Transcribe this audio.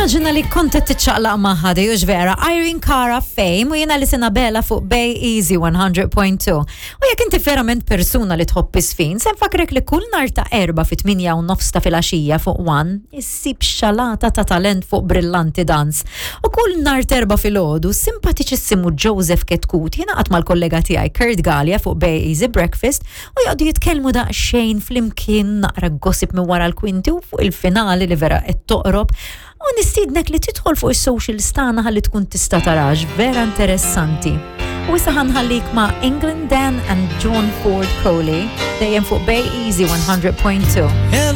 Nimmaġina li kont qed tiċċaqlaq magħha di hux vera. Irene Cara Fame u jiena li Bella fuq Bay Easy 100.2. U jekk inti verament persuna li tħobb isfin, se nfakrek li kull nar ta' erba' fit 8 u nofs ta' filgħaxija fuq One issib xalata ta' talent fuq Brillanti Dance. U kull nar terba' filgħodu simpatiċissimu Joseph Ketkut jingħaqad mal-kollega tiegħi Kurt Galea fuq Bay Easy Breakfast u joqogħdu jitkellmu daqsxejn flimkien naqra gossip minn wara l-kwinti u fuq il-finali li vera qed toqrob. U nistiednek li tidħol fuq is-socials tagħna ħalli tkun tista' tarax vera interessanti. U issa ħanħallik ma' England Dan and John Ford Coley dejjem fuq Bay Easy 100.2.